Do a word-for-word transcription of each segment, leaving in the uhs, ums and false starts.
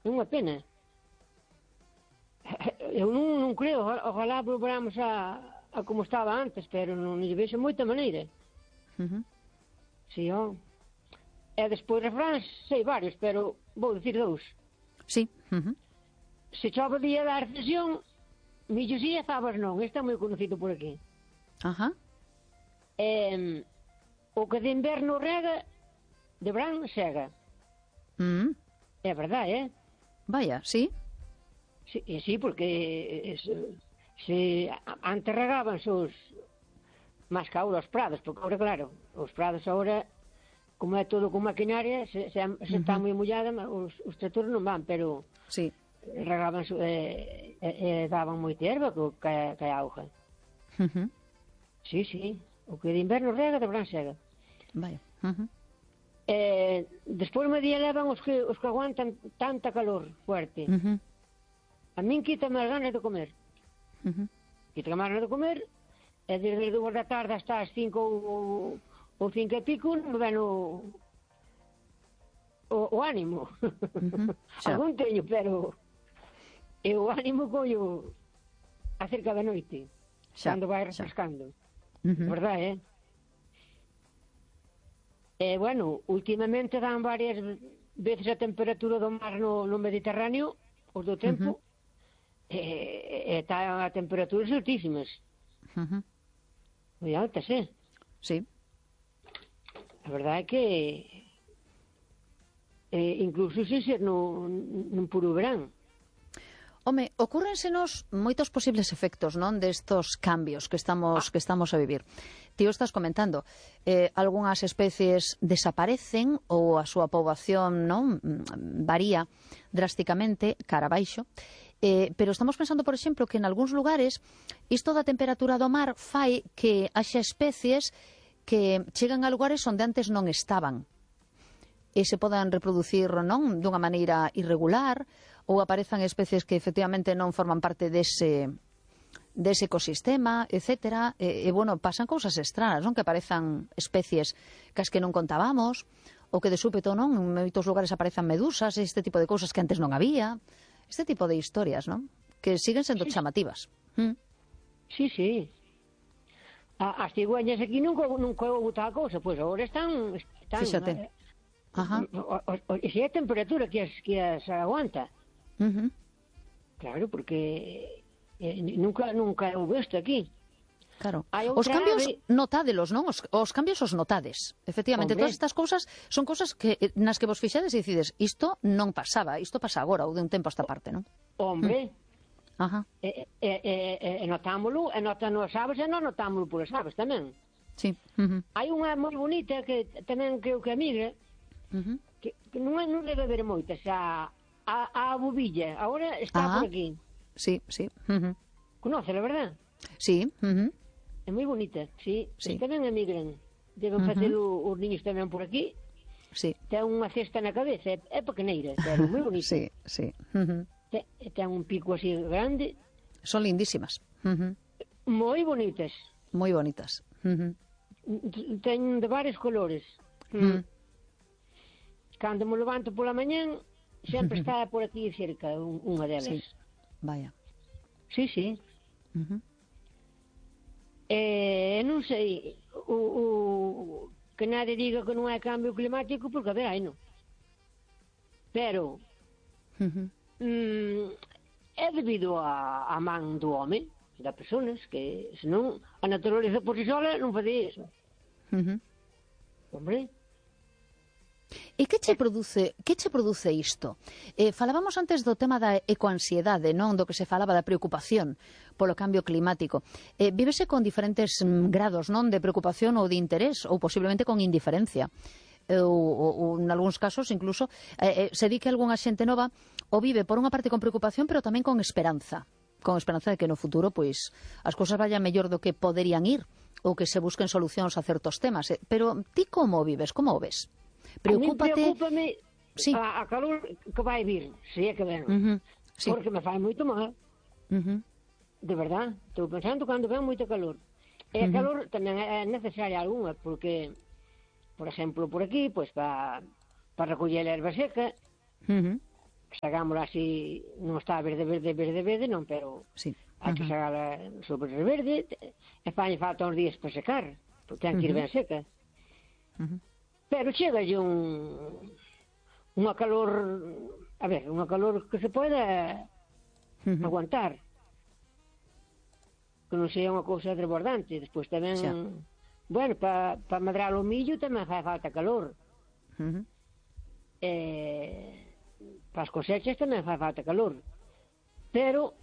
é unha pena. Eu non, non creo, ojalá volvamos a, a como estaba antes, pero non lle vexo moita maneira. Uh -huh. Si, ó. E despois refráns, sei varios, pero vou dicir dous. Sí. Uh -huh. Se chove o día da recesión, millo si e fabas non. Este é moi conocido por aquí. Ajá. Eh, o que de inverno rega, de verán sega. Mm. É verdade, eh? Vaya, sí. Sí, sí, porque se, se antes regaban os máis que ahora os prados, porque ahora, claro, os prados ahora, como é todo con maquinaria, se, se, se uh -huh. está moi mollada, os, os tractores non van, pero sí. regaban, eh, eh, daban moita erva que, que a auga. Uh -huh. Sí, sí, o que de inverno rega, de verán sega. Vaya. Uh -huh. Eh, despois me día levan os que, os que aguantan tanta calor fuerte. Uh -huh. A min quítame as ganas de comer. Uh -huh. Quítame as ganas de comer, e desde as dúas da tarde hasta as cinco ou, ou cinco e pico non me ven o, o, o ánimo. Uh -huh. Algún teño, pero e o ánimo collo acerca da noite, xa, cando vai refrescando. Uh -huh. Verdade, eh? E, bueno, últimamente dan varias veces a temperatura do mar no, no Mediterráneo, os do tempo, uh -huh. e está a temperaturas altísimas. Uh -huh. Moi altas, eh? Sí. A verdade é que eh, incluso se ser no, no puro verán. Home, ocúrrensenos moitos posibles efectos, non, destos cambios que estamos que estamos a vivir. Ti o estás comentando, eh, algunhas especies desaparecen ou a súa poboación, non, varía drásticamente cara abaixo, eh, pero estamos pensando, por exemplo, que en algúns lugares isto da temperatura do mar fai que haxa especies que chegan a lugares onde antes non estaban e se podan reproducir, non, dunha maneira irregular, ou aparezan especies que efectivamente non forman parte dese, dese ecosistema, etcétera. E, e, bueno, pasan cousas extrañas, non? Que aparezan especies cas que non contábamos, ou que de súpeto, non? En moitos lugares aparezan medusas, este tipo de cousas que antes non había. Este tipo de historias, non? Que siguen sendo sí. chamativas. ¿Mm? Sí, sí. A, as cigüeñas aquí nunca, nunca houve tal cousa, pois pues agora están... están Fíxate. Eh, Ajá. O, o, o, e se é a temperatura que as, que as aguanta. Uh -huh. Claro, porque eh, nunca nunca houve isto aquí. Claro. Os cambios ave... notádelos, non? Os, os cambios os notades. Efectivamente, Hombre. Todas estas cousas son cousas que nas que vos fixades e decides, isto non pasaba, isto pasa agora ou de un tempo a esta parte, non? Hombre. Mm. Ajá. E, e, e, e notámolo, e notan as aves e non notámolo polas aves tamén. Sí. Uh -huh. Hai unha moi bonita que tamén creo que emigra, uh -huh. que, que non, non debe haber moitas, a, a, a bobilla, agora está ah, por aquí. Sí, sí. Uh -huh. Conoce, la verdad? Sí. Uh -huh. É moi bonita, sí. Sí. Tamén emigran. Deben uh -huh. facer os niños tamén por aquí. Sí. Ten unha cesta na cabeza, é, é pequeneira, pero moi bonita. Sí, sí. Uh -huh. ten, ten un pico así grande. Son lindísimas. Uh -huh. Moi bonitas. Moi bonitas. Uh -huh. Ten de varios colores. Uh -huh. Mm. Cando me levanto pola mañán, sempre está por aquí cerca unha delas. Sí. Vaya. Sí, sí. Uh -huh. Eh, non sei, o, o, que nadie diga que non é cambio climático, porque a ver, hai non. Pero uh -huh. mm, é debido a, a man do home, das personas, que senón a naturaleza por si sola non facía iso. Uh -huh. Hombre. E que che produce, que che produce isto? Eh, falábamos antes do tema da ecoansiedade, non? Do que se falaba da preocupación polo cambio climático. Eh, vívese con diferentes mm, grados, non? De preocupación ou de interés, ou posiblemente con indiferencia. Ou, ou, ou en algúns casos, incluso, eh, eh, se di que algunha xente nova o vive por unha parte con preocupación, pero tamén con esperanza. Con esperanza de que no futuro, pois, as cousas vayan mellor do que poderían ir, ou que se busquen solucións a certos temas. Eh, pero ti como vives? Como o ves? Preocúpate... Preocúpame sí. a, a calor que vai vir, se é que ven. Uh -huh. Sí. Porque me fai moito mal. Uh -huh. De verdad. Estou pensando cando ven moito calor. E a uh -huh. calor tamén é necesaria algunha, porque, por exemplo, por aquí, pois para pa recoller a erva seca, uh -huh. sagámola así, non está verde, verde, verde, verde, non, pero sí. hai que sagala sobre verde, e fañe falta uns días para secar, porque ten que ir ben seca. Uh-huh. Pero chegalle un unha calor, a ver, unha calor que se poida uh-huh. aguantar, que non sea unha cousa desbordante. Despois tamén, xa. Bueno, para pa madrar o millo tamén fai falta calor. Uh-huh. Eh, para as cosechas tamén fai falta calor, pero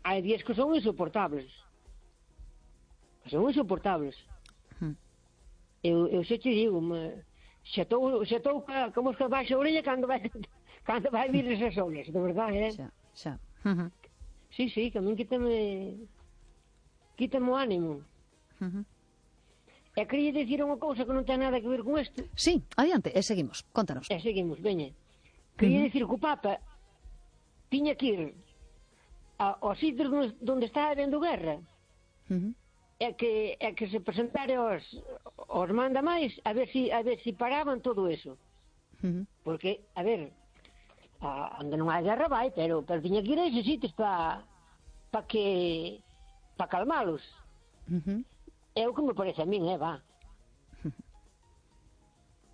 hai días que son insoportables, que son insoportables. Uh-huh. eu, eu xe te digo, me, xa estou xa estou como que baixa a orella cando vai cando vai vir esas olas, de verdade, eh? Xa, xa. Uh-huh. Sí, sí, que a min quítame quítame o ánimo. Uh-huh. E quería dicir unha cousa que non ten nada que ver con isto. Sí, adiante, e seguimos, contanos. E seguimos, veña. Quería uh-huh. dicir que o Papa tiña que ir aos sitios onde está habendo guerra. Uh-huh. É que, é que se presentare aos, aos mandamais a ver si, a ver si paraban todo eso. Uh-huh. Porque, a ver, a, onde non hai guerra vai, pero, pero tiña que ir a esos sitios para pa que para calmalos. Uh-huh. É o que me parece a min, eh, va. Uh-huh.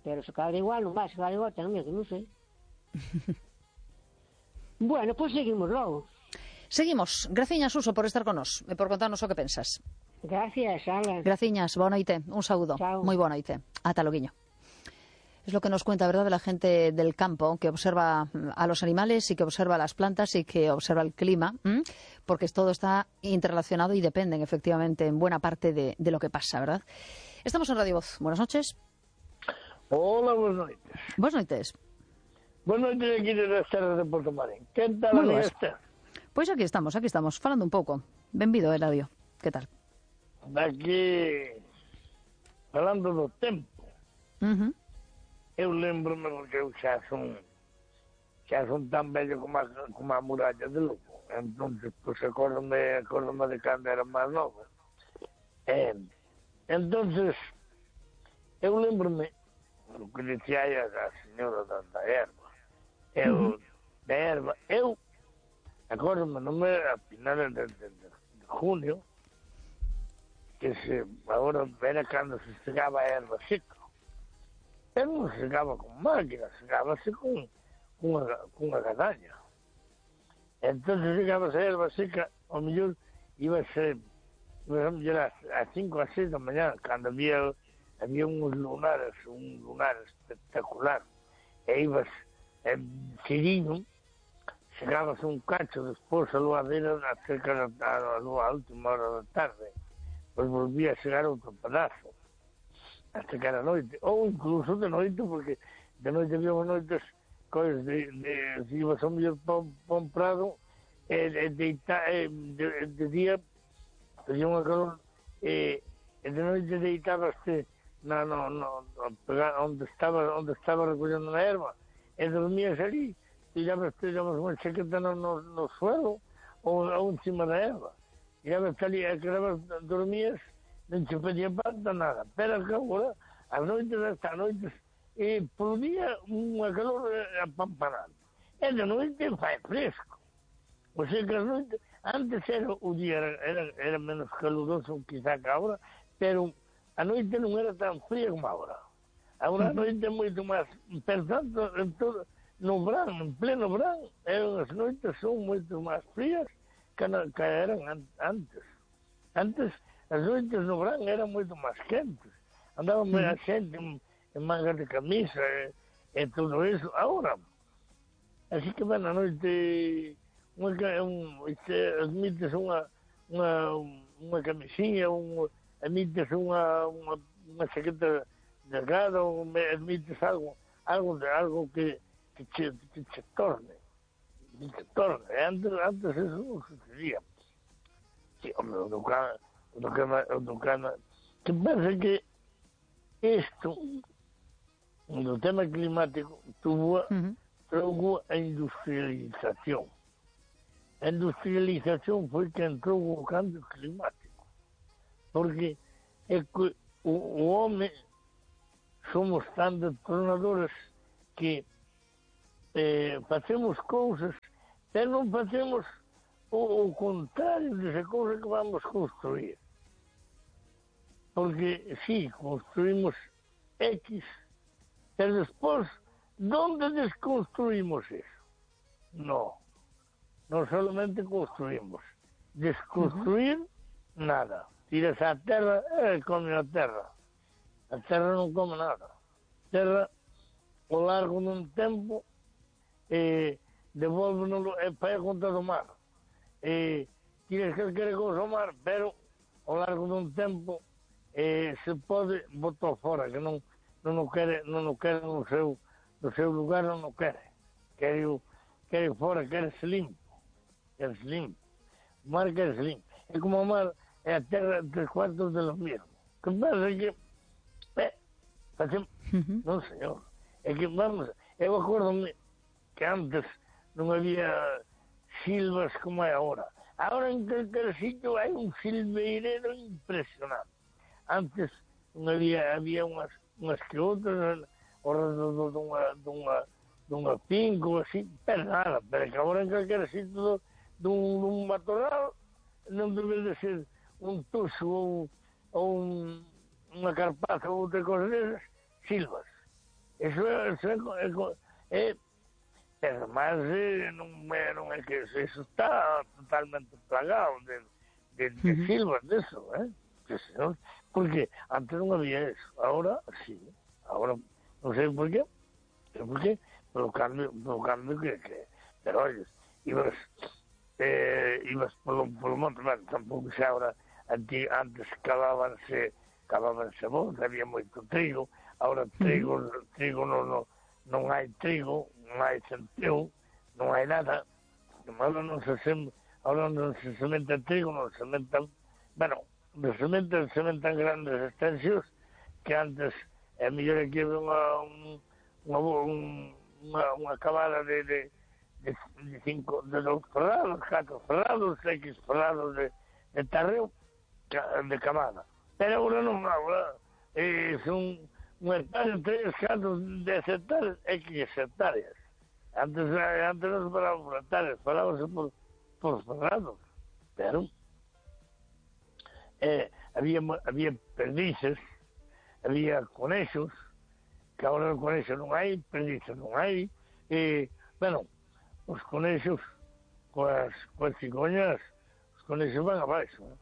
Pero se cada igual non vai, se cada igual tamén, que non sei. Bueno, pois pues seguimos logo. Seguimos. Graciñas, Suso, por estar con nos e por contarnos o que pensas. Gracias, Ala. Graciñas, boa noite. Un saúdo. Chao. Moi boa noite. Ata loguiño. Es lo que nos cuenta, ¿verdad?, de la gente del campo, que observa a los animales y que observa las plantas y que observa el clima, ¿m? Porque todo está interrelacionado y dependen, efectivamente, en buena parte de, de lo que pasa, ¿verdad? Estamos en Radio Voz. Buenas noches. Hola, buenas noites. Buenas noites. Buenas noites aquí de las terras de Porto Marín. Que tal, amiga Esther? Pois aquí estamos, aquí estamos, falando un pouco. Benvido, Eladio. Que tal? Aquí, falando do tempo, uh-huh. eu lembro-me porque eu xa son, xa son tan vello como a, como a muralla de Lugo. Entonces, pois, acórdome, acórdome de cando era máis novo. Eh, entonces, eu lembro-me, o que dicía a, a señora da, da erva, eu, uh-huh. da erva, eu, acórdome, no me, a finales de, de, de, de junio, que se, agora era cando se segaba a erva seca. Pero non se segaba con máquina, segábase con, con, unha, con unha gadaña. Entón, segábase a erva seca, ao mellor, iba a ser, iba a ser a cinco a seis da mañá, cando había, había uns lunares, un lunar espectacular, e ibas en Siriño, chegábase un cacho despois a luadeira cerca da a, a última hora da tarde, pois volvía a chegar outro pedazo hasta que era noite, ou incluso de noite, porque de noite había noites coisas de, de, de ibas ao mellor para un prado e, e deita, e, de, de día había unha calor e, e de noite deitábaste na, no, no, no, onde estaba onde estaba recollendo na erva e dormías ali. Tirabas, tirabas unha chaqueta no, no, no suelo ou, ou encima da erva. Tirabas ali, quedabas, dormías, non te pedía falta nada. Pero que agora, as noites, hasta noites, e por día unha calor apampanada. E de noite fai fresco. O sea que as noites, antes era o día era, era, era menos caluroso quizá que agora, pero a noite non era tan fría como agora. Agora a noite é moito máis, per tanto, en todo, no verán, en pleno verán, as noites son moito máis frías que, na, que eran an, antes. Antes, as noites no verán eran moito máis quentes. Andaban mm. a xente en, en mangas de camisa e, e todo eso. Agora, así que, bueno, a noite, unha, un, admites unha, unha, unha camisinha, un, admites unha, unha, unha chaqueta delgada, admites algo, algo, algo que que se, que se torne, que se torne. Antes, antes eso non sucedía. Sí, hombre, o do cana, o do cana, o do cana, que pensa que isto, do tema climático, tuvo, uh-huh. trouxe a industrialización. A industrialización foi que entrou o cambio climático. Porque é que o, o home somos tan detonadores que eh, facemos cousas, pero non facemos o, o contrario desa cousa que vamos construir. Porque, sí, construimos X, pero despois, ¿dónde desconstruimos eso? No, non solamente construimos. Desconstruir, uh-huh. nada. Tiras a terra, e come a terra. A terra non come nada. A terra, ao largo dun tempo, eh, devolve-nos e vai a conta do mar. Eh, tiras calquera cousa ao mar, pero ao largo dun tempo eh, se pode botar fora, que non non o quere, non o quere no seu, no seu lugar, non o quere. Quere o, quere fora, quere se limpo. Quere se limpo. O mar quere se limpo. É como o mar é a terra tres cuartos de lo mismo. Que pasa que, eh, facemos, uh-huh. non sei, é que vamos, eu acordo-me que antes non había silvas como é agora. Agora en calquer sitio hai un silveirero impresionante. Antes non había, había unhas, unhas que outras ao redor dunha, dunha, dunha finca, así, pero nada, pero que agora en calquer sitio dun, dun matorral non debe de ser un tuxo ou, ou un, unha carpaza ou outra cosa desas, silvas. Eso é, eso é, é, é pero máis eh, non, é, non é que eso está totalmente plagado de, de, de uh-huh. silvas deso, eh? Porque antes non había eso, agora sí, agora non sei por qué, pero por qué, polo cambio, polo cambio que, que pero olles, ibas, eh, ibas polo, polo monte, bueno, tampouco xa agora, antes, antes cavábanse, cavábanse bons, había moito trigo, agora trigo, uh-huh. trigo non, non, non hai trigo, non hai centeo, non hai nada, agora non se sem, agora non se sementa trigo, non se sementa, bueno, de sementan, sementan grandes extensións que antes é mellor que unha, unha, unha, unha cabada de, de, de, de cinco, de dos ferrados, catro ferrados, X ferrados de, de tarreo de camada. Pero agora non, agora eh, son un hectárea, tres, catro, dez hectáreas, X hectáreas. Antes, antes non se falaba por hectáreas, falábase por, por ferrados, pero Eh, había, había perdices, había conexos, que agora os conexos non hai, perdices non hai, e, bueno, os conexos, coas, coas cigoñas, os conexos van abaixo, eh?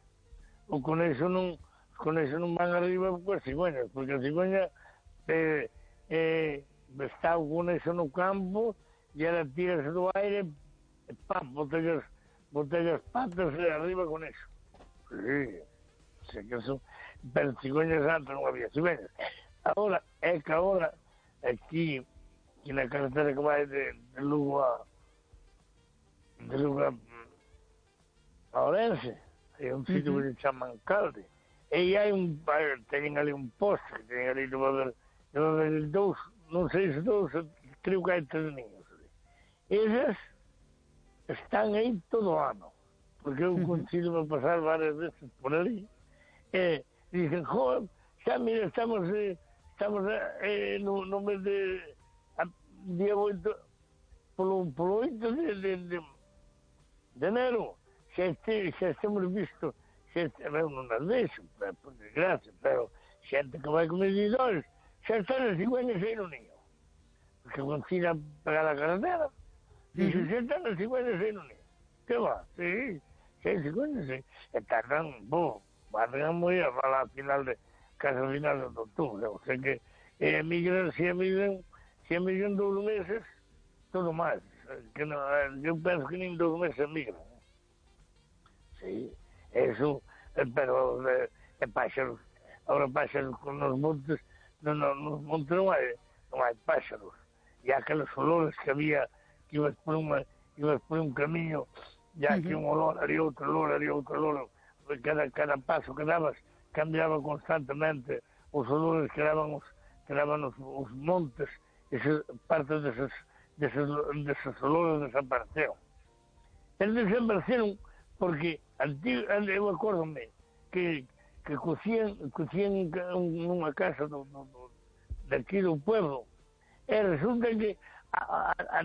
O conexo non, os conexos non van arriba coas cigoñas, porque a cigoña eh, eh, está o conexo no campo, e ela tirase do aire, e pam, botella as patas e arriba con eso. Sí. Se que son, pero cigüeñas antes non había cigüeñas. Agora, é que agora, aquí, aquí na carretera que vai de, de Lugo a de Lugo a, a Orense, hai un sitio uh-huh. que se chama Calde, e hai un, teñen ali un poste, que teñen ali, deve haber, deve haber dous, non sei se dous, creo que hai tres niños ali. Esas están aí todo o ano, porque eu consigo uh-huh. pasar varias veces por ali, e dicen, joder, xa mira, estamos eh, estamos eh, no, no mes de a, día oito polo, polo oito de, de, de, de enero xa, este, xa estamos visto xa este, eu non as deixo por desgracia, pero xente que vai con medidores xa están as cigüeñas aí no niño porque consiga pegar a carretera dixo, xa están as cigüeñas aí no niño que va, sí, xa hai cigüeñas aí e tardan, bo van moi a falar a final de casi a final de outubro, o sea que eh, migran, se emigran se emigran dous meses todo máis que non, eu penso que nin dous meses emigran sí, eso pero eh, é páxaros agora páxaros con os montes non, non, nos montes non hai non hai páxaros e aqueles olores que había que ibas por, uma, ibas por un camiño e aquí uh-huh. un olor, ali outro olor, ali outro olor Cada, cada paso que dabas cambiaba constantemente os olores que daban os, que daban os, os montes ese, parte deses, deses, deses olores desapareceron eles desapareceron porque antigo, eu acordome que, que cocían, cocían nunha casa do, do, do, daqui do pueblo e resulta que a, a,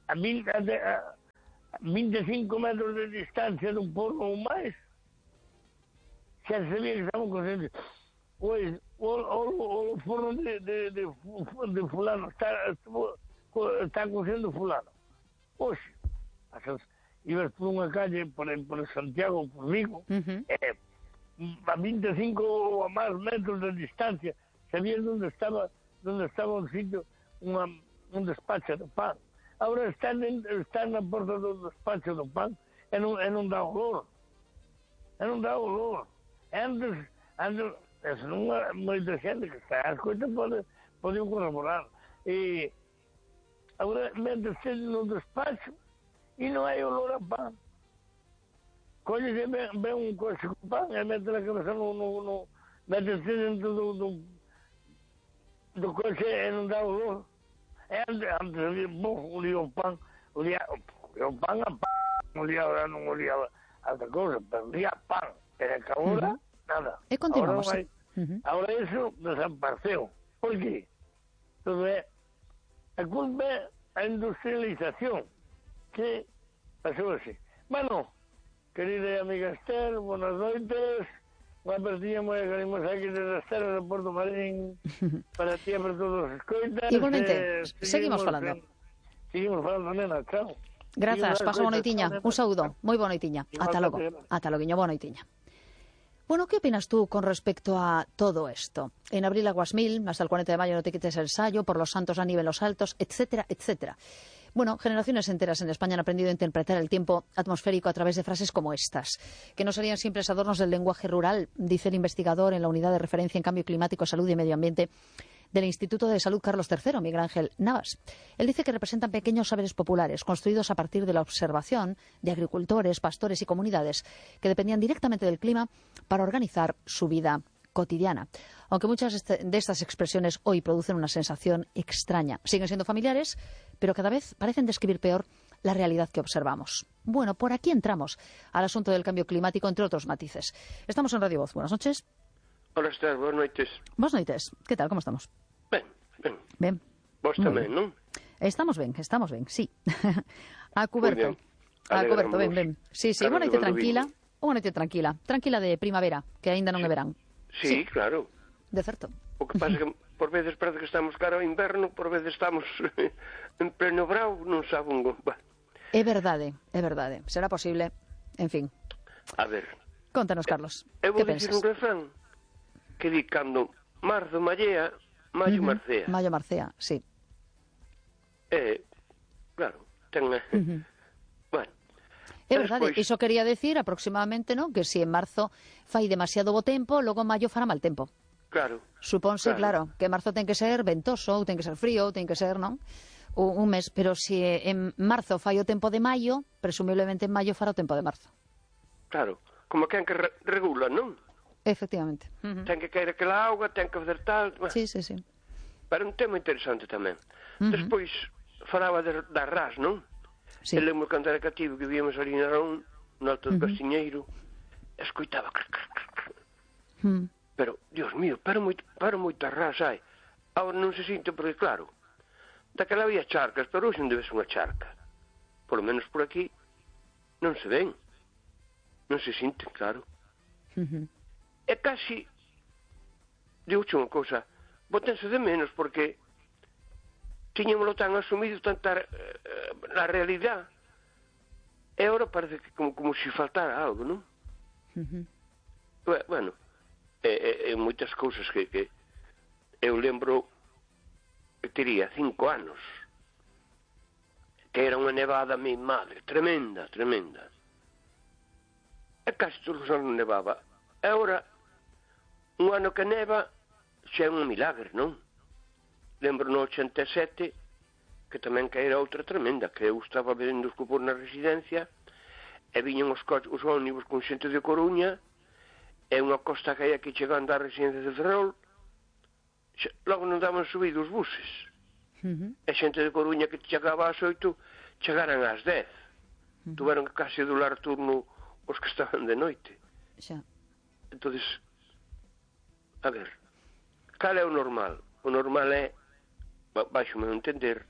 a, mil, a, a vinte e cinco metros de distancia dun forno ou máis, xa sabía que estaban conscientes. Pois, o, o, o forno de, de, de, de fulano está, está cociendo fulano. Oxe, ibas por unha calle, por, por Santiago, por Vigo, uh-huh. eh, a vinte e cinco ou a máis metros de distancia, sabías onde estaba, onde estaba un sitio, unha, un despacho de pan. Agora están, están na porta do despacho do pan e non, e non dá olor. E non dá olor. E antes, antes, esa non é moita xente que está as coisas pode, pode corroborar. E agora metese no despacho e non hai olor a pan. Collese ben, ben un coche con pan e mete a cabeza no, no, no metese dentro do, do, do coche e non dá olor. E antes, antes olía, bom, olía o pan, olía, olía o pan a pan, olía, non olía a outra cousa, pero olía a pan. Pero que agora, uh-huh. nada. E continuamos. Agora, hai, uh-huh. agora iso desapareceu. Por qué? Todo é, a culpa é a industrialización que pasou así. Bueno, querida amiga Esther, buenas noites. Unha partida moi agarimosa aquí desde as terras de Porto Marín para ti e para todos os escoitas. Igualmente, eh, seguimos, seguimos falando. En, seguimos falando, nena, chao. Grazas, pasa boa noitiña. Un saúdo, moi boa noitiña. Ata logo, ata loguiño, boa noitiña. Bueno, ¿qué opinas tú con respecto a todo esto? En abril aguas mil, hasta el cuarenta de mayo no te quites el sayo, por los santos a nivel los altos, etcétera, etcétera. Bueno, generaciones enteras en España han aprendido a interpretar el tiempo atmosférico a través de frases como estas, que no serían simples adornos del lenguaje rural, dice el investigador en la unidad de referencia en cambio climático, salud y medio ambiente del Instituto de Salud Carlos tercero, Miguel Ángel Navas. Él dice que representan pequeños saberes populares construidos a partir de la observación de agricultores, pastores y comunidades que dependían directamente del clima para organizar su vida cotidiana. Aunque muchas de estas expresiones hoy producen una sensación extraña, siguen siendo familiares, pero cada vez parecen describir peor la realidad que observamos. Bueno, por aquí entramos al asunto del cambio climático, entre otros matices. Estamos en Radio Voz. Buenas noches. Hola, Esther, buenas noites. Buenas noites. ¿Qué tal? ¿Cómo estamos? Ben, ben. Ben. Vos tamén, non? Estamos ben, estamos ben, sí. A cuberto. A cuberto, ben, ben. Sí, sí, unha noite tranquila. Unha noite tranquila. Tranquila de primavera, que aínda non é verán. Sí, sí, claro. De certo. O que pasa que por veces parece que estamos cara ao inverno, por veces estamos en pleno brao, non sabe un gomba. É verdade, é verdade. Será posible. En fin. A ver. Contanos, Carlos. Eu vou dicir un refrán que di cando marzo mallea, maio uh-huh. marcea. Maio marcea, sí. Eh, claro, ten... Uh-huh. Bueno. É verdade, despois... iso quería decir aproximadamente, non? Que se si en marzo fai demasiado bo tempo, logo en maio fará mal tempo. Claro. Supónse, claro. claro, que marzo ten que ser ventoso, ou ten que ser frío, ou ten que ser, non? Un, un mes, pero se si en marzo fai o tempo de maio, presumiblemente en maio fará o tempo de marzo. Claro, como quen que re regula, non? Efectivamente. Uh-huh. Ten que caer aquela auga, ten que fazer tal... Bueno, sí, sí, sí. Pero un tema interesante tamén. Uh-huh. Despois falaba de, da ras, non? Sí. Eu lembro cando era cativo que víamos ali na Arón, no alto do uh-huh. Castiñeiro, escoitava... Uh-huh. Pero, Dios mío, para moito, para moita ras hai. Agora non se sinto porque, claro, daquela había charcas, pero hoxe non debe ser unha charca. Por lo menos por aquí non se ven. Non se sinten, claro. Uh-huh. É casi, digo-che unha cousa, botense de menos porque tiñamolo tan asumido tanta eh, na realidad e agora parece que como, como se faltara algo, non? Uh-huh. Bueno, é, é, é moitas cousas que, que eu lembro que tería cinco anos que era unha nevada mi madre, tremenda, tremenda e casi todos os anos nevaba e agora un ano que neva xa é un milagre, non? Lembro no ochenta e sete que tamén que era outra tremenda, que eu estaba vendo os cupos na residencia e viñan os, os ónibus con xente de Coruña e unha costa que hai aquí chegando á residencia de Ferrol xa, logo non daban subido os buses uh-huh. e xente de Coruña que chegaba ás oito chegaran ás dez uh-huh. tuveron que case dolar turno os que estaban de noite xa. Entonces, a ver, cal é o normal? O normal é, baixo meu entender,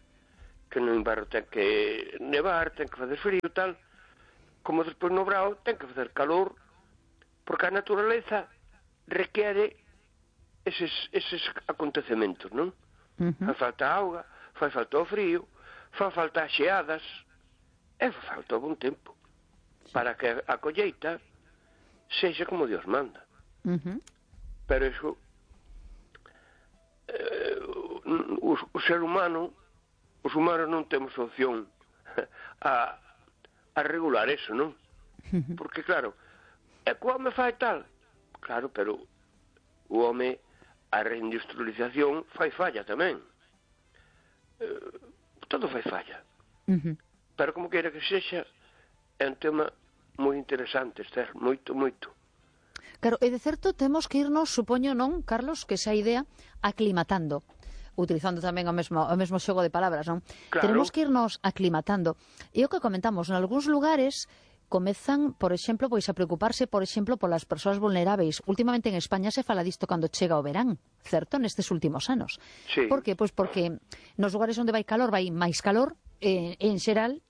que no inverno ten que nevar, ten que facer frío e tal, como despois no brao ten que facer calor, porque a naturaleza requiere eses, eses acontecementos, non? Uh-huh. Fai falta auga, fai falta o frío, fai falta as xeadas, e fai falta o bon tempo, sí, para que a colleita sexa como Dios manda. Uh-huh. Pero iso, eh, o, o ser humano, os humanos non temos opción a, a regular eso, non? Uh-huh. Porque, claro, é que o home fai tal, claro, pero o home, a reindustrialización fai falla tamén. Eh, todo fai falla. Uh-huh. Pero como queira que sexa, é un tema moi interesante, Esther, moito, moito. Claro, e de certo temos que irnos, supoño, non, Carlos, que esa idea aclimatando, utilizando tamén o mesmo, o mesmo xogo de palabras, non? Claro. Tenemos que irnos aclimatando. E o que comentamos, en algúns lugares comezan, por exemplo, pois a preocuparse, por exemplo, polas persoas vulneráveis. Últimamente en España se fala disto cando chega o verán, certo? Nestes últimos anos. Sí. Por que? Pois porque nos lugares onde vai calor, vai máis calor, eh, en xeral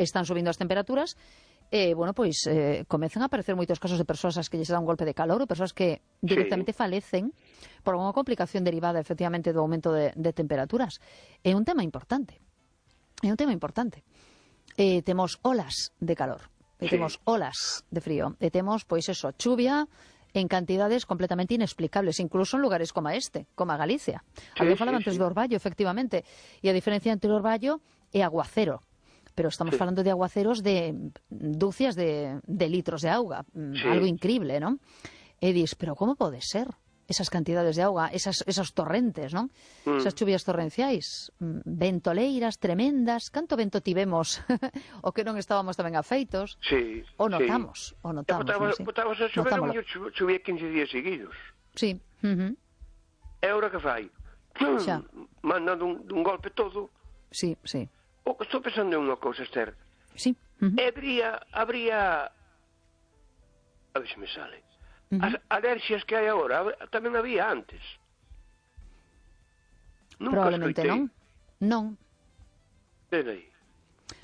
están subindo as temperaturas, e, eh, bueno, pois eh, comezan a aparecer moitos casos de persoas as que lles dá un golpe de calor, ou persoas que directamente sí. falecen por unha complicación derivada, efectivamente, do aumento de, de temperaturas. É un tema importante. É un tema importante. Eh, temos olas de calor. E sí. temos olas de frío, e temos, pois eso, chuvia en cantidades completamente inexplicables, incluso en lugares como este, como a Galicia. Sí, Alguén falaba sí, antes sí. do orballo, efectivamente, e a diferencia entre o orballo e aguacero, pero estamos sí. falando de aguaceros de dúcias de, de litros de auga, sí. algo increíble, non? E dis, pero como pode ser? Esas cantidades de auga, esas, esos torrentes, non? Mm. Esas chuvias torrenciais, ventoleiras tremendas, canto vento tivemos o que non estábamos tamén afeitos. Sí, o notamos, sí. o notamos. Botamos, non, sí. botamos a chover, eu chuvía quince días seguidos. Sí. Uh-huh. E agora que fai? Xa. Mandando un, un golpe todo. Sí, sí. O que estou pensando en unha cousa, Esther. Sí. Uh-huh. Habría, habría... A ver se me sale. Uh-huh. As alerxias que hai agora tamén había antes. Nunca Probablemente escoitei. non. Non. Peraí.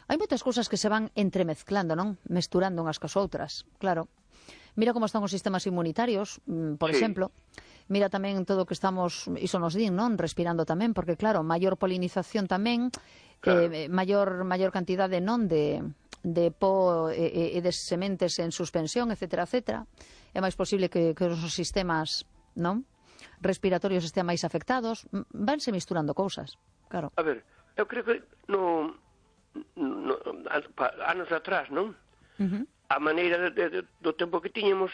Hai moitas cousas que se van entremezclando, non? Mesturando unhas cos outras, claro. Mira como están os sistemas inmunitarios, por sí. exemplo. Mira tamén todo o que estamos, iso nos din, non? Respirando tamén, porque claro, maior polinización tamén, claro. eh, maior maior cantidade, non, de de po e, e de sementes en suspensión, etcétera, etcétera. É máis posible que, que os sistemas, non, respiratorios estean máis afectados. Vanse misturando cousas, claro. A ver, eu creo que no, no anos atrás, non? Uh-huh. A maneira de, de, do tempo que tiñamos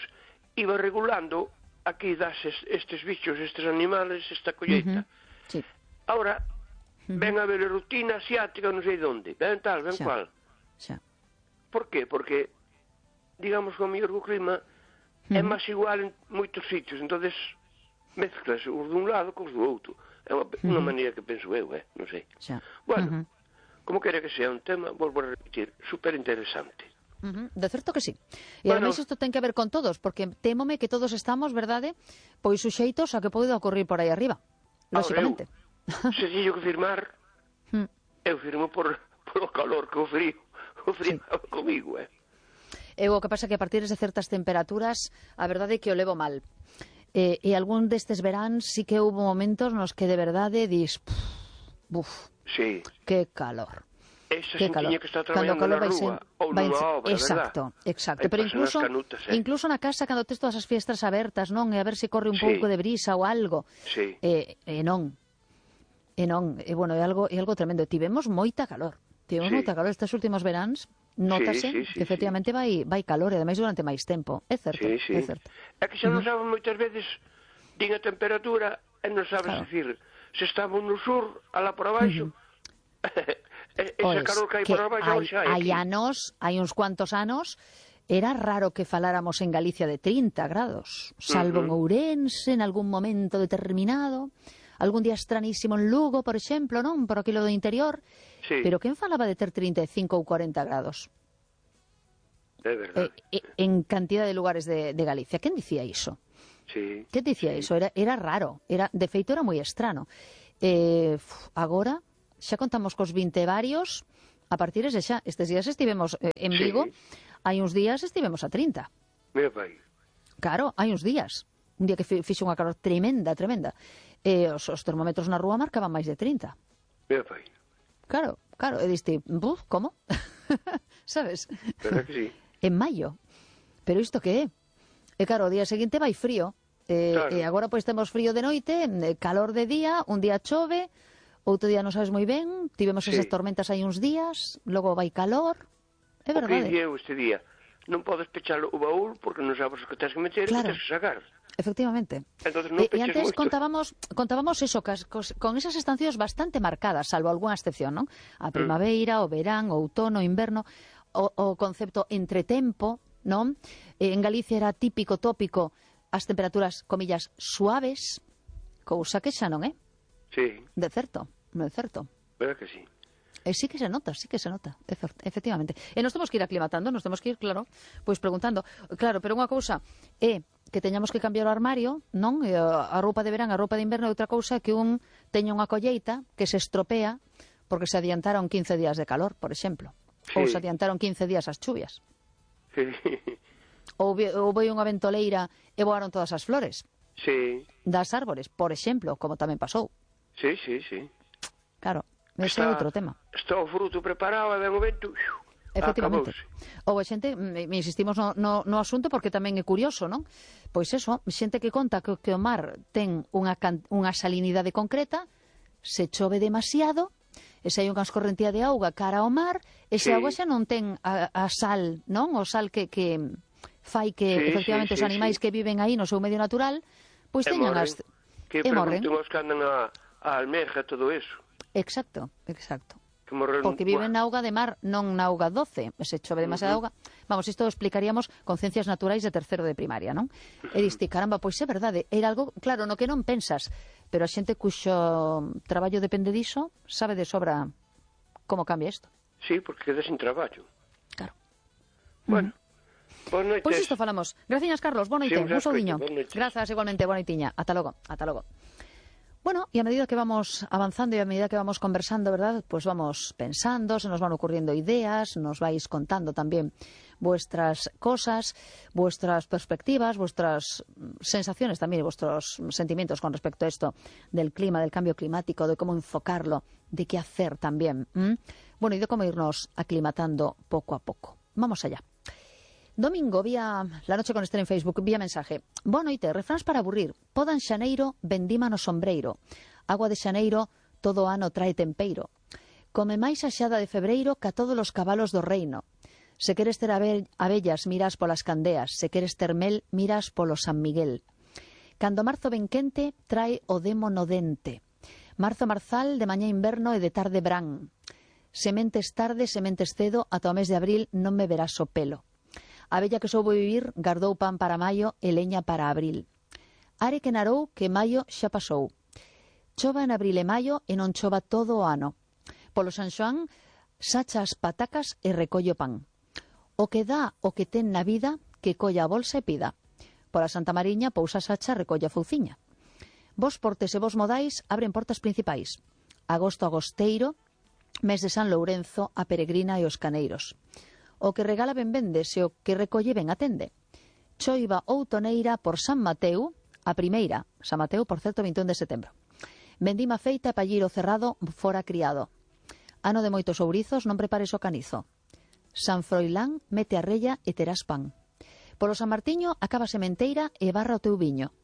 iba regulando aquí das estes bichos, estes animales, esta colleita. Uh-huh. Sí. Ahora, uh-huh. ven a ver a rutina asiática, non sei onde, ven tal, ven xa. cual. Xa. Por qué? Porque, digamos que o mellor o clima uh-huh. é máis igual en moitos sitios, entonces mezclas os dun lado cos do outro. É unha, uh-huh. unha maneira que penso eu, eh? non sei. Xa. Bueno, uh-huh. como quere que sea un tema, volvo a repetir, super interesante. Uh-huh. De certo que sí. E bueno, ademais isto ten que ver con todos, porque témome que todos estamos, verdade, pois suxeitos a que poida ocurrir por aí arriba, lóxicamente. Se teño que firmar, hmm. eu firmo por, por o calor que o frío. O frío sí. comigo, eh. E o que pasa que a partir de certas temperaturas, a verdade é que o levo mal. E, e algún destes veráns sí que houve momentos nos que de verdade dis, buf, sí. que calor. Esa que calor. Que está traballando na rúa, ou nunha obra, exacto, verdad? Exacto, pero incluso, canutas, eh? incluso na casa cando tes todas as fiestras abertas, non? E a ver se corre un sí. pouco de brisa ou algo. Sí. E, e non. E non, e bueno, é algo, é algo tremendo. Tivemos moita calor. Tivemos sí. moita calor estes últimos veráns. Nótase sí, sí, sí, que efectivamente sí. vai, vai calor e ademais durante máis tempo. É certo, sí, sí. é certo. É que xa non saben moitas veces din a temperatura e non sabes claro. decir se estamos no sur, alá por abaixo. Uh-huh. Ese Oes, calor que hai por abaixo hai, xa hai. Hai anos, hai uns cuantos anos, era raro que faláramos en Galicia de trinta grados, salvo uh-huh. en Ourense en algún momento determinado. Algún día estranísimo en Lugo, por exemplo, non? Por aquilo do interior. Sí. Pero quen falaba de ter trinta e cinco ou cuarenta grados? É verdade. Eh, en cantidad de lugares de, de Galicia. Quen dicía iso? Sí. Quen dicía sí. iso? Era, era raro. Era, de feito, era moi estrano. Eh, agora, xa contamos cos vinte varios, a partir de xa, estes días estivemos eh, en Vigo, sí. Hai uns días estivemos a trinta. Mira, pai. Claro, hai uns días. Un día que fixe unha calor tremenda, tremenda. E os, os termómetros na rúa marcaban máis de trinta. Mira, pai. Claro, claro. E diste, buf, como? Sabes? Verdad que sí. En maio. Pero isto que é? E claro, o día seguinte vai frío. E, claro. E agora pois temos frío de noite, calor de día, un día chove, outro día non sabes moi ben, tivemos sí. esas tormentas hai uns días, logo vai calor. É verdade. O que día este día? Non podes pechar o baúl porque non sabes o que tens que meter e claro. que tens que sacar. Efectivamente. Entonces, non e, e antes contábamos, contábamos eso, cas, cos, con esas estacións bastante marcadas, salvo algunha excepción, non? A primavera, mm. o verán, o outono, o inverno, o, o concepto entretempo, non? En Galicia era típico, tópico, as temperaturas, comillas, suaves, cousa que xa non é. Sí. De certo, non é certo. Verdad que sí. E sí que se nota, sí que se nota, efectivamente. E nos temos que ir aclimatando, nos temos que ir, claro, pois preguntando. Claro, pero unha cousa é que teñamos que cambiar o armario, non? E a roupa de verán, a roupa de inverno, e outra cousa que un teña unha colleita que se estropea porque se adiantaron quince días de calor, por exemplo. Sí. Ou se adiantaron quince días as chuvias. Sí. Ou, ou foi unha ventoleira e voaron todas as flores. Sí. Das árbores, por exemplo, como tamén pasou. Sí, sí, sí. Claro. Ese é outro tema. Está o fruto preparado, ven o vento, efectivamente. Acabouse. Ou a xente, me insistimos no, no, no asunto porque tamén é curioso, non? Pois eso, xente que conta que, que o mar ten unha, unha salinidade concreta, se chove demasiado, e se hai unha escorrentía de auga cara ao mar, esa sí. auga xa non ten a, a sal, non? O sal que, que fai que, sí, efectivamente, sí, os animais sí. que viven aí no seu medio natural, pois teñan as... Que pregunten os que andan a, a almeja e todo eso. Exacto, exacto. Morren... Porque viven na auga de mar, non na auga doce. Se chove demasiada uh -huh. auga... Vamos, isto explicaríamos con ciencias naturais de tercero de primaria, non? E diste, caramba, pois é verdade. Era algo, claro, no que non pensas, pero a xente cuxo traballo depende diso sabe de sobra como cambia isto. Sí, porque queda sin traballo. Claro. Bueno, uh -huh. boa noites. Pois isto falamos. Graciñas, Carlos. Boa noite. Un saudiño. Grazas, igualmente. Boa noitiña. Ata logo. Ata logo. Bueno, y a medida que vamos avanzando y a medida que vamos conversando, ¿verdad? Pues vamos pensando, se nos van ocurriendo ideas, nos vais contando también vuestras cosas, vuestras perspectivas, vuestras sensaciones también, vuestros sentimientos con respecto a esto del clima, del cambio climático, de cómo enfocarlo, de qué hacer también. ¿Mm? Bueno, y de cómo irnos aclimatando poco a poco. Vamos allá. Domingo, vía La Noche con Esther en Facebook, vía mensaje. Boa noite, refráns para aburrir. Poda en xaneiro, vendima no sombreiro. Agua de xaneiro, todo ano trae tempeiro. Come máis a xada de febreiro ca todos os cabalos do reino. Se queres ter abellas, miras polas candeas. Se queres ter mel, miras polo San Miguel. Cando marzo ben quente, trae o demo no dente. Marzo marzal, de mañá inverno e de tarde brán. Sementes tarde, sementes cedo, ata o mes de abril non me verás o pelo. A bella que soubo vivir gardou pan para maio e leña para abril. Are que narou que maio xa pasou. Chova en abril e maio e non chova todo o ano. Polo San Xoán, sacha as patacas e recollo pan. O que dá o que ten na vida, que colla a bolsa e pida. Pola Santa Mariña, pousa sacha, recolla fouciña. Vos portes e vos modais abren portas principais. Agosto agosteiro, mes de San Lourenzo, a peregrina e os caneiros. O que regala ben vende, se o que recolle ben atende. Choiva outoneira por San Mateu, a primeira, San Mateu, por certo, vinte e un de setembro. Vendima feita e palliro cerrado, fora criado. Ano de moitos ourizos, non prepares o canizo. San Froilán, mete a rella e terás pan. Polo San Martiño, acaba a sementeira e barra o teu viño.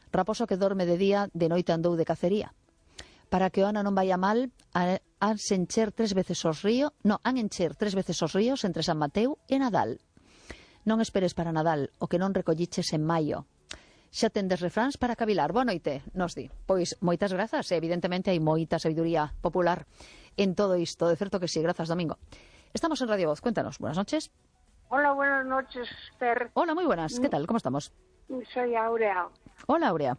Raposo que dorme de día, de noite andou de cacería. Para que o ano non vaya mal, han encher tres veces os ríos, no, han encher tres veces os ríos entre San Mateu e Nadal. Non esperes para Nadal, o que non recolliches en maio. Xa tendes refráns para cavilar. Boa noite, nos di. Pois moitas grazas, evidentemente hai moita sabiduría popular en todo isto, de certo que sí, grazas, Domingo. Estamos en Radio Voz, cuéntanos, buenas noches. Hola, buenas noches, Esther. Hola, muy buenas, ¿qué tal? ¿Cómo estamos? Soy Aurea. Hola, Aurea.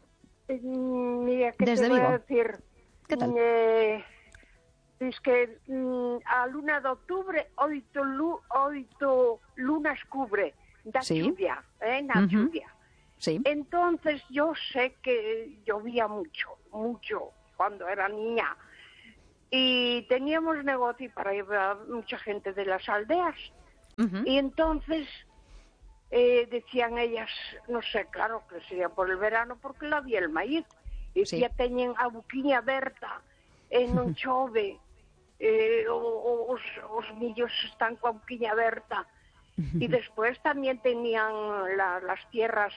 Eh, mira, ¿qué Desde te voy Vigo. a decir? ¿Qué tal? Eh, es que mm, a luna de octubre oito, lu, oito lunas cubre da sí. lluvia, eh, na uh-huh. lluvia. Sí. Entonces yo sé que llovía mucho, mucho cuando era niña. y teníamos negocio para ir a mucha gente de las aldeas. Uh-huh. Y entonces eh, decían ellas, no sé, claro que sería por el verano porque no había el maíz. E sí. Ya teñen a buquiña aberta, e non chove, eh, os, os millos están coa buquiña aberta. Y después también tenían la, las tierras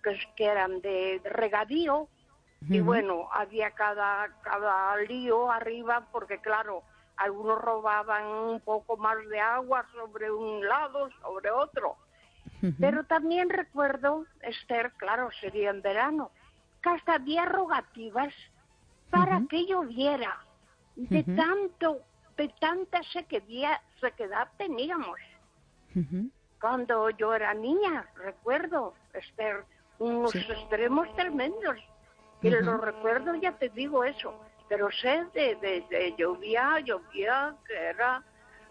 que, que eran de, de regadío, uh-huh. Y bueno, había cada, cada lío arriba, porque claro, algunos robaban un poco más de agua sobre un lado, sobre otro. Uh-huh. Pero también recuerdo, Esther, claro, sería en verano, que hasta había rogativas para uh-huh. que lloviera. De uh-huh. tanto, de tanta sequedad, sequedad teníamos. Uh-huh. Cuando yo era niña, recuerdo, Esther, unos sí. extremos tremendos. Y uh-huh. los recuerdo, ya te digo eso. Pero sé de, de, de llovía, llovía, que era,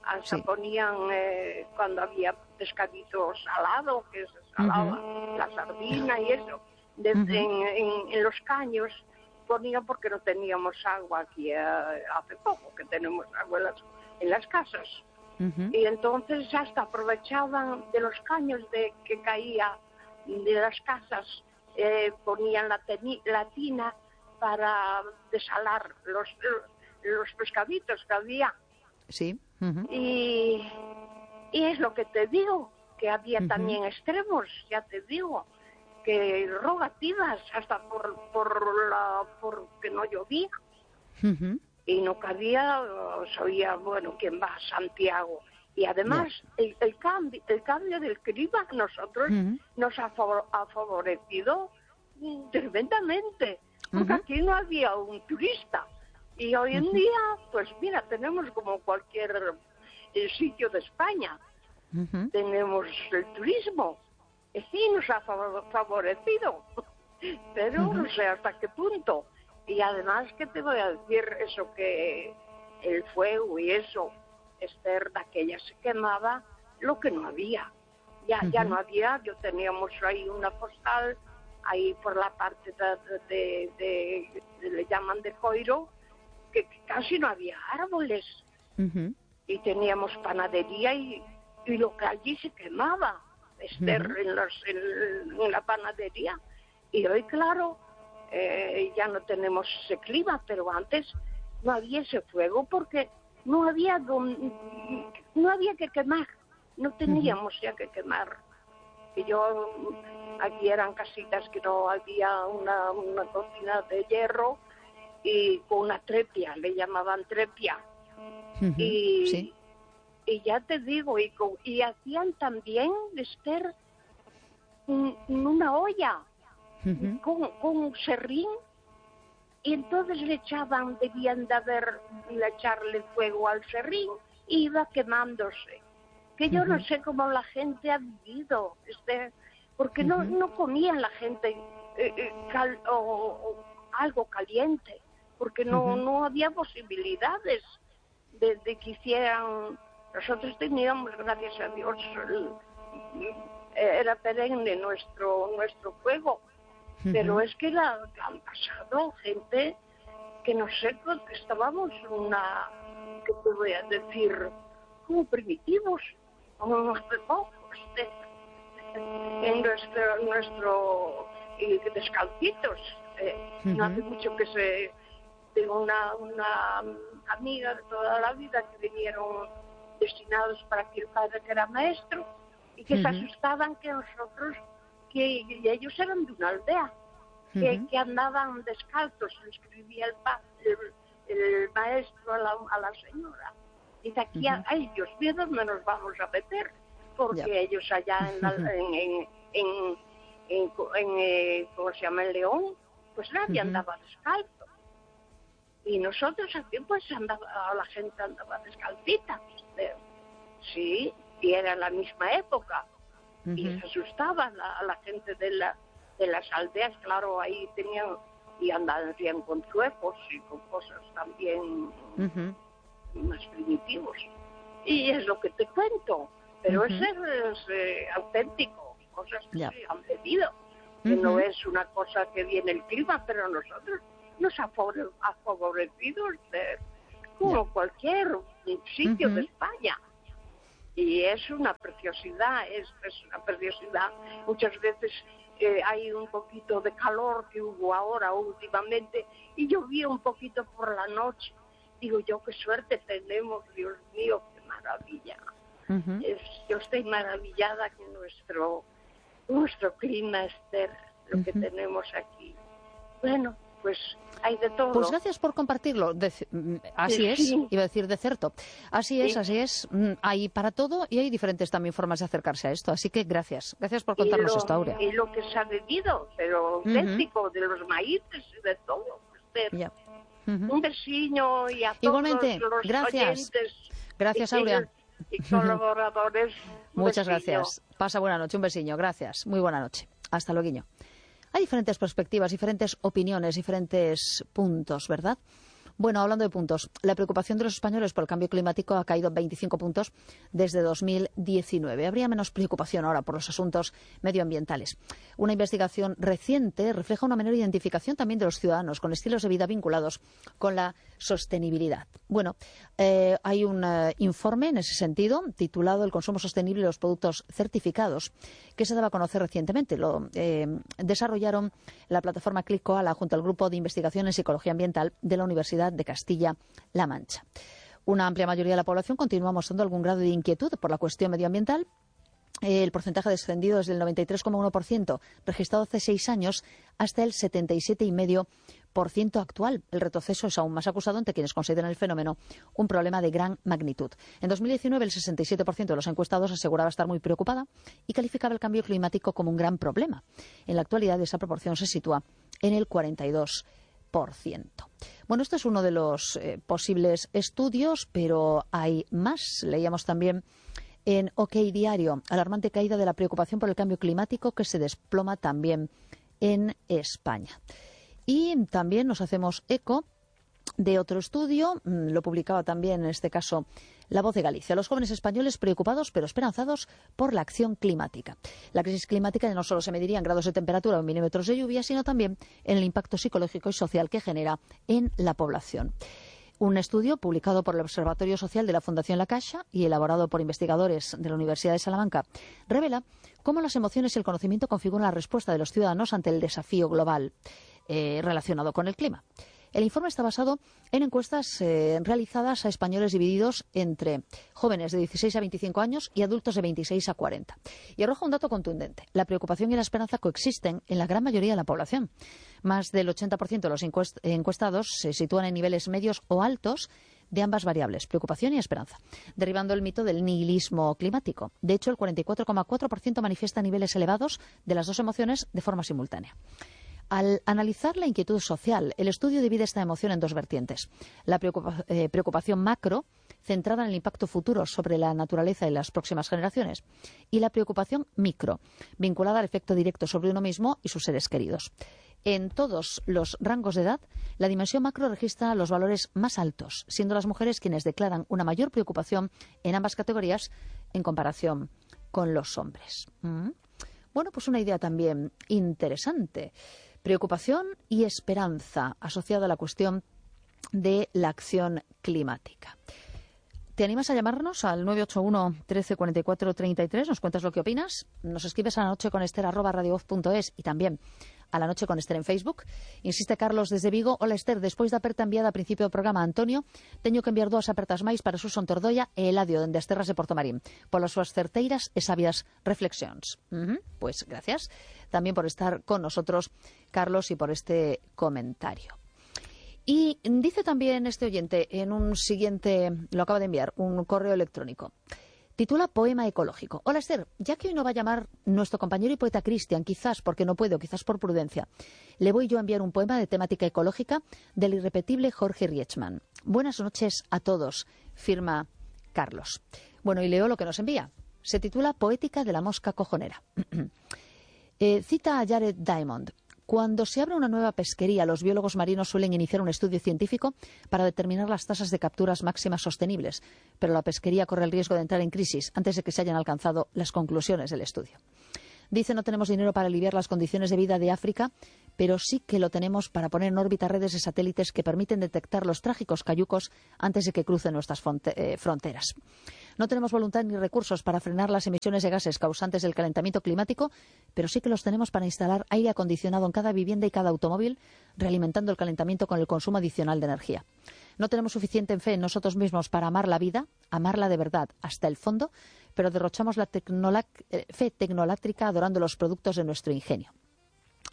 hasta sí. ponían, eh, cuando había pescadito salado, que se salaba uh-huh. la sardina y eso. De, uh-huh. en, en, en los caños ponían, porque no teníamos agua aquí eh, hace poco, que tenemos agua en las, en las casas. Uh-huh. Y entonces hasta aprovechaban de los caños de que caía de las casas, eh, ponían la, teni, la tina para desalar los, los pescaditos que había. Sí. Uh-huh. Y, y es lo que te digo, que había uh-huh. también extremos, ya te digo, que rogativas hasta por por la por que no llovía. Uh-huh. Y no cabía, se oía, bueno, ¿quién va a Santiago? Y además, yeah. el, el, cambio, el cambio del clima a nosotros uh-huh. nos ha, favor, ha favorecido tremendamente, porque uh-huh. aquí no había un turista. Y hoy en uh-huh. día, pues mira, tenemos como cualquier eh, sitio de España, uh-huh. tenemos el turismo. Y sí, nos ha favorecido, pero uh-huh. no sé hasta qué punto. Y además, ¿qué te voy a decir? Eso que el fuego y eso, Esther, de aquella se quemaba lo que no había. Ya uh-huh. ya no había, yo teníamos ahí una postal, ahí por la parte de, de, de, de le llaman de Coiro, que, que casi no había árboles. Uh-huh. Y teníamos panadería y, y lo que allí se quemaba. Esther, uh-huh. en, los, en, en la panadería. Y hoy, claro, eh, ya no tenemos ese clima, pero antes no había ese fuego porque no había don, no había que quemar, no teníamos uh-huh. ya que quemar. Y yo, aquí eran casitas que no había una, una cocina de hierro y con una trepia, le llamaban trepia. Uh-huh. Y... ¿sí? Y ya te digo, y, con, y hacían también, Esther, un, una olla uh-huh. con, con un serrín, y entonces le echaban, debían de haber, de echarle fuego al serrín, y iba quemándose. Que yo uh-huh. no sé cómo la gente ha vivido, Esther, porque uh-huh. no, no comían la gente eh, eh, cal, o, o algo caliente, porque no, uh-huh. no había posibilidades de, de que hicieran... Nosotros teníamos, gracias a Dios, el, era perenne nuestro nuestro fuego, uh-huh. pero es que la, han pasado gente que no sé, que estábamos una, ¿qué te voy a decir? Como primitivos, como hace poco, este, en nuestro, nuestro y descalcitos. Eh, uh-huh. No hace mucho que se, tengo una, una amiga de toda la vida que vinieron destinados para que el padre que era maestro y que uh-huh. se asustaban que nosotros, que ellos eran de una aldea, uh-huh. que, que andaban descalzos, le escribía el, el, el maestro a la, a la señora. Dice, aquí uh-huh. a ellos, ¿de dónde nos vamos a meter? Porque yep. ellos allá en, la, en, en, en, en, en eh, ¿cómo se llama? En León, pues nadie uh-huh. andaba descalzo. Y nosotros aquí pues andaba, la gente andaba descalcita. Sí, y era la misma época. Uh-huh. Y se asustaban a, a la gente de, la, de las aldeas, claro, ahí tenían, y andaban con zuecos y con cosas también uh-huh. más primitivos. Y es lo que te cuento, pero uh-huh. eso es eh, auténtico, cosas que yeah. se han bebido, que uh-huh. no es una cosa que viene el clima, pero nosotros nos ha favorecido de, como yeah. cualquier sitio uh-huh. de España. Y es una preciosidad, es, es una preciosidad. Muchas veces eh, hay un poquito de calor que hubo ahora últimamente y llovía un poquito por la noche. Digo yo, qué suerte tenemos, Dios mío, qué maravilla. Uh-huh. Es, yo estoy maravillada con nuestro, nuestro clima, Esther, lo uh-huh. que tenemos aquí. Bueno, pues hay de todo. Pues gracias por compartirlo. De, así sí, es, sí. iba a decir de cierto. Así es, sí. así es. Hay para todo y hay diferentes también formas de acercarse a esto. Así que gracias. Gracias por contarnos lo, esto, Aurea. Y lo que se ha bebido, pero auténtico, uh-huh. de los maíces y de todo. Yeah. Uh-huh. Un besiño y a Igualmente, todos los gracias. oyentes. Gracias, Aurea. Y colaboradores. Muchas besiño. Gracias. Pasa buena noche, un besiño. Gracias. Muy buena noche. Hasta luego. Hay diferentes perspectivas, diferentes opiniones, diferentes puntos, ¿verdad? Bueno, hablando de puntos, la preocupación de los españoles por el cambio climático ha caído veinticinco puntos desde dos mil diecinueve. Habría menos preocupación ahora por los asuntos medioambientales. Una investigación reciente refleja una menor identificación también de los ciudadanos con estilos de vida vinculados con la sostenibilidad. Bueno, eh, hay un eh, informe en ese sentido titulado El consumo sostenible de los productos certificados que se daba a conocer recientemente. Lo eh, desarrollaron la plataforma ClickKoala junto al Grupo de Investigación en Psicología Ambiental de la Universidad de Castilla-La Mancha. Una amplia mayoría de la población continúa mostrando algún grado de inquietud por la cuestión medioambiental. El porcentaje ha descendido desde el noventa y tres coma uno por ciento registrado hace seis años hasta el setenta y siete coma cinco por ciento actual. El retroceso es aún más acusado entre quienes consideran el fenómeno un problema de gran magnitud. En dos mil diecinueve, el sesenta y siete por ciento de los encuestados aseguraba estar muy preocupada y calificaba el cambio climático como un gran problema. En la actualidad, esa proporción se sitúa en el cuarenta y dos por ciento. Bueno, esto es uno de los eh, posibles estudios, pero hay más. Leíamos también en OK Diario, alarmante caída de la preocupación por el cambio climático que se desploma también en España. Y también nos hacemos eco de otro estudio, lo publicaba también en este caso La Voz de Galicia. Los jóvenes españoles preocupados pero esperanzados por la acción climática. La crisis climática no solo se mediría en grados de temperatura o en milímetros de lluvia, sino también en el impacto psicológico y social que genera en la población. Un estudio publicado por el Observatorio Social de la Fundación La Caixa y elaborado por investigadores de la Universidad de Salamanca revela cómo las emociones y el conocimiento configuran la respuesta de los ciudadanos ante el desafío global eh, relacionado con el clima. El informe está basado en encuestas eh, realizadas a españoles divididos entre jóvenes de dieciséis a veinticinco años y adultos de veintiséis a cuarenta. Y arroja un dato contundente. La preocupación y la esperanza coexisten en la gran mayoría de la población. Más del ochenta por ciento de los encuest- encuestados se sitúan en niveles medios o altos de ambas variables, preocupación y esperanza, derribando el mito del nihilismo climático. De hecho, el cuarenta y cuatro coma cuatro por ciento manifiesta niveles elevados de las dos emociones de forma simultánea. Al analizar la inquietud social, el estudio divide esta emoción en dos vertientes. La preocupa- eh, preocupación macro, centrada en el impacto futuro sobre la naturaleza y las próximas generaciones, y la preocupación micro, vinculada al efecto directo sobre uno mismo y sus seres queridos. En todos los rangos de edad, la dimensión macro registra los valores más altos, siendo las mujeres quienes declaran una mayor preocupación en ambas categorías en comparación con los hombres. ¿Mm? Bueno, pues una idea también interesante. Preocupación y esperanza asociada a la cuestión de la acción climática. ¿Te animas a llamarnos al nueve ocho uno, trece cuarenta y cuatro, treinta y tres? ¿Nos cuentas lo que opinas? Nos escribes a la noche con Esther arroba radiovoz punto es y también a la noche con Esther en Facebook. Insiste Carlos desde Vigo. Hola Esther, despois da aperta enviada a principio do programa a Antonio, teño que enviar dúas apertas máis para Suson Tordoia e Eladio dende as terras de Portomarín polas súas certeiras e sabias reflexións. Uh-huh. Pues gracias también por estar con nosotros, Carlos, y por este comentario. Y dice también este oyente en un siguiente, lo acaba de enviar, un correo electrónico. Titula Poema ecológico. Hola Esther, ya que hoy no va a llamar nuestro compañero y poeta Cristian, quizás porque no puede o quizás por prudencia, le voy yo a enviar un poema de temática ecológica del irrepetible Jorge Rietzmann. Buenas noches a todos, firma Carlos. Bueno, y leo lo que nos envía. Se titula Poética de la mosca cojonera. eh, cita a Jared Diamond. Cuando se abre una nueva pesquería, los biólogos marinos suelen iniciar un estudio científico para determinar las tasas de capturas máximas sostenibles, pero la pesquería corre el riesgo de entrar en crisis antes de que se hayan alcanzado las conclusiones del estudio. Dice, no tenemos dinero para aliviar las condiciones de vida de África, pero sí que lo tenemos para poner en órbita redes de satélites que permiten detectar los trágicos cayucos antes de que crucen nuestras fronteras. No tenemos voluntad ni recursos para frenar las emisiones de gases causantes del calentamiento climático, pero sí que los tenemos para instalar aire acondicionado en cada vivienda y cada automóvil, realimentando el calentamiento con el consumo adicional de energía. No tenemos suficiente fe en nosotros mismos para amar la vida, amarla de verdad hasta el fondo, pero derrochamos la tecnola- fe tecnolátrica adorando los productos de nuestro ingenio.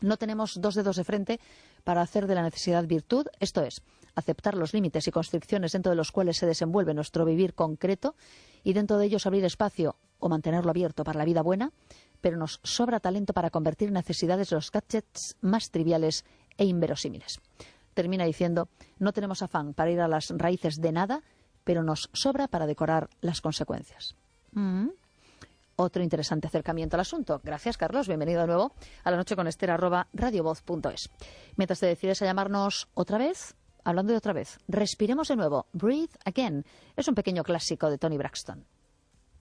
No tenemos dos dedos de frente para hacer de la necesidad virtud, esto es, aceptar los límites y constricciones dentro de los cuales se desenvuelve nuestro vivir concreto y dentro de ellos abrir espacio o mantenerlo abierto para la vida buena, pero nos sobra talento para convertir necesidades los gadgets más triviales e inverosímiles. Termina diciendo, no tenemos afán para ir a las raíces de nada, pero nos sobra para decorar las consecuencias. Mm. Otro interesante acercamiento al asunto. Gracias, Carlos. Bienvenido de nuevo a La Noche con Esther, arroba radiovoz punto es. Mientras te decides a llamarnos otra vez, hablando de otra vez, respiremos de nuevo. Breathe Again. Es un pequeño clásico de Toni Braxton.